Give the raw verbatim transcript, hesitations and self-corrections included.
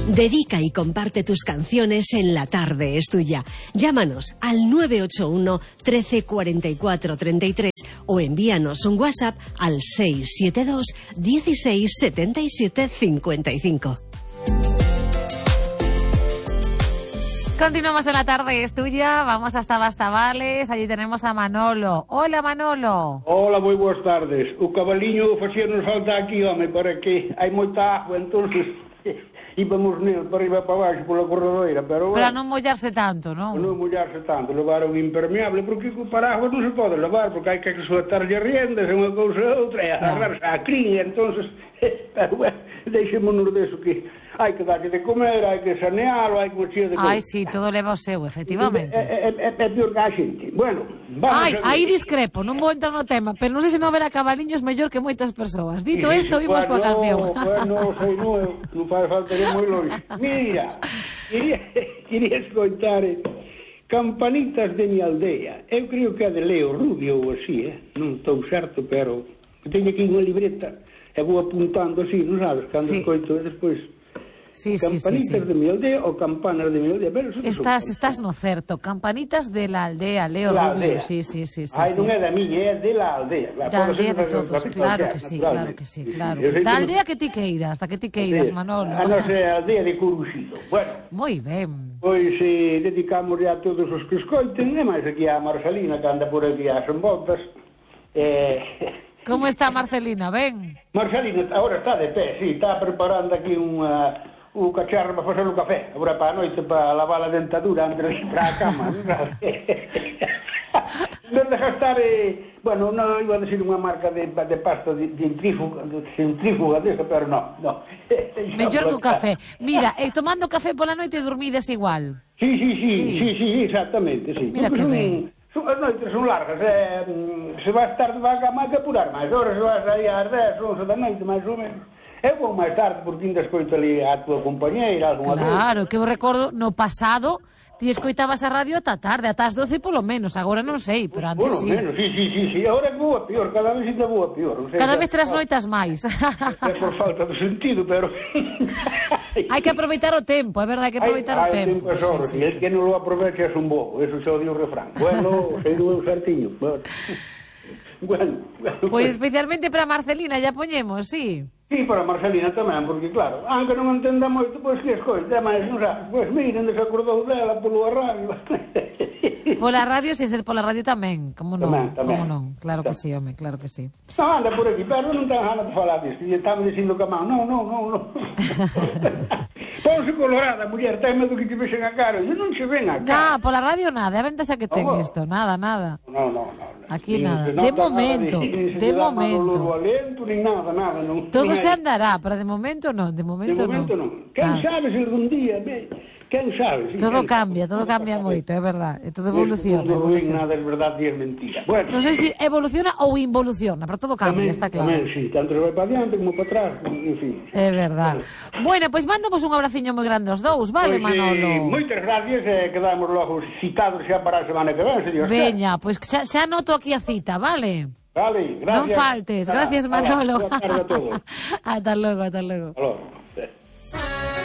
Dedica y comparte tus canciones en La Tarde es Tuya. Llámanos al nueve ocho uno, trece, cuarenta y cuatro, treinta y tres o envíanos un WhatsApp al seis siete dos, dieciséis, setenta y siete, cincuenta y cinco. Continuamos en La Tarde es Tuya, vamos hasta Bastavales, allí tenemos a Manolo. Hola, Manolo. Hola, moi boas tardes. O cabaliño facíanos falta aquí, home, para que hai moita agua, entonces íbamos nel para arriba para baixo pola corredoira, pero... Para non mollarse tanto, non? Non mollarse tanto, levar un impermeable, porque o paraguas non se pode levar, porque hai que soltarlle riendas, unha cousa e outra, e agarrarse a crin, entonces, pero bueno, deixémonos deso que hai que darlle de comer, hai que sanealo, hai que mexer de comer. Ai, sí, todo leva o seu, efectivamente. É, é, é, é pior que a xente. Bueno, vamos Ai, a... aí discrepo, non vou entrar no tema, pero non sei se non ver a cabaliños mellor que moitas persoas. Dito isto, vimos coa canción. Bueno, sei, non, non faz falta ir moi longe. Mira, quería, quería escoitar eh, Campanitas de mi aldea. Eu creo que é de Leo Rubio ou así, eh? Non estou certo, pero teño aquí unha libreta e vou apuntando así, non sabes, cando sí. Escoito despois... Sí, Campanitas sí, sí, sí. de mi aldea ou Campanas de mi aldea. Pero estás, estás no certo. Campanitas de la aldea, Leo la Rubio. Aldea. Sí, sí, sí, sí, Ai, sí. non é da miña, é de la aldea. La da aldea de todos, claro que sí, claro que sí, claro. Sí, sí. Da aldea que ti queiras, da que ti queiras, Manolo. A nosa aldea de Coruxido. Bueno. Moi ben. Pois eh, dedicamos a todos os que escoiten, e máis aquí a Marcelina, que anda por aquí ás envoltas. Eh... Como está Marcelina, ben? Marcelina agora está de pé, sí, está preparando aquí unha... o cacharro para facer o café, agora para a noite, para lavar a dentadura antes de ir para a cama. Non deja estar, eh, bueno, non iba a decir unha marca de, de pasta de, de centrífuga, de centrífuga desa, pero non, non. Mellor que o café. Mira, eh, tomando café pola noite dormides igual. Sí, sí, sí, sí, sí, sí, exactamente, sí. Mira que ben. Son, as noites son largas, eh, se vai estar de vaca máis que apurar máis horas, se vai sair ás dez, once da noite, máis ou menos. Eu vou máis tarde, porque ainda escoito ali a tua compañeira, algunha vez. Claro, que eu recordo, no pasado, ti escoitabas a radio ata tarde, ata as doce polo menos, agora non sei, pero antes sí. Polo menos, sí, sí, sí, sí, agora é boa pior, cada vez ainda boa pior. O sea, cada vez tras noitas máis. É por falta de sentido, pero... Hai que aproveitar o tempo, é verdade, hai que aproveitar o tempo. Hai tempo, sí, sí, sí. El que non lo aprovecha é un bobo, eso xa o dio o refrán. Bueno, sei do eu certiño. Bueno, bueno. Pois especialmente para Marcelina, ya poñemos, sí. Sí, para Marcelina tamén, porque claro, aunque non entenda moito, pois que escoite, máis, non sabes, pois miren, desacordou dela polo radio. Pola radio, sin ser pola radio tamén, como non, tamén, tamén. Como non, claro que sí, home, claro que sí. Non, anda por aquí, pero non ten ganas de falar disto, e estaba dicindo que a man, non, non, non, non. Ponse colorada, muller, ten medo que te vexen a cara, e non se ven a cara. Non, pola radio nada, a ventaxa que ten oh. isto, nada, nada. Non, non, non. Aquí nada, de momento, de momento. Nin nada, nada, non. Todo se andará, pero de momento non, de momento non. De momento non. Quen sabe se algún día, quen sabe? Todo cambia, todo cambia moito, é verdade, e todo evoluciona. Non ven nada, é verdade e é mentira. Bueno. Non sei se evoluciona ou involuciona, pero todo cambia, está claro. Tamén, sí, tanto vai para diante como para atrás, en fin. É verdade. Bueno, pois mandamos un abraciño moi grande aos dous, vale, Manolo? Moitas gracias, e quedamos logo citados xa para a semana que ven, se Dios quer. Veña, pois xa, xa noto aquí a cita, vale? Vale, gracias. Non faltes, gracias, Manolo. Boa tarde a todos. Hasta logo, hasta logo. Hasta logo.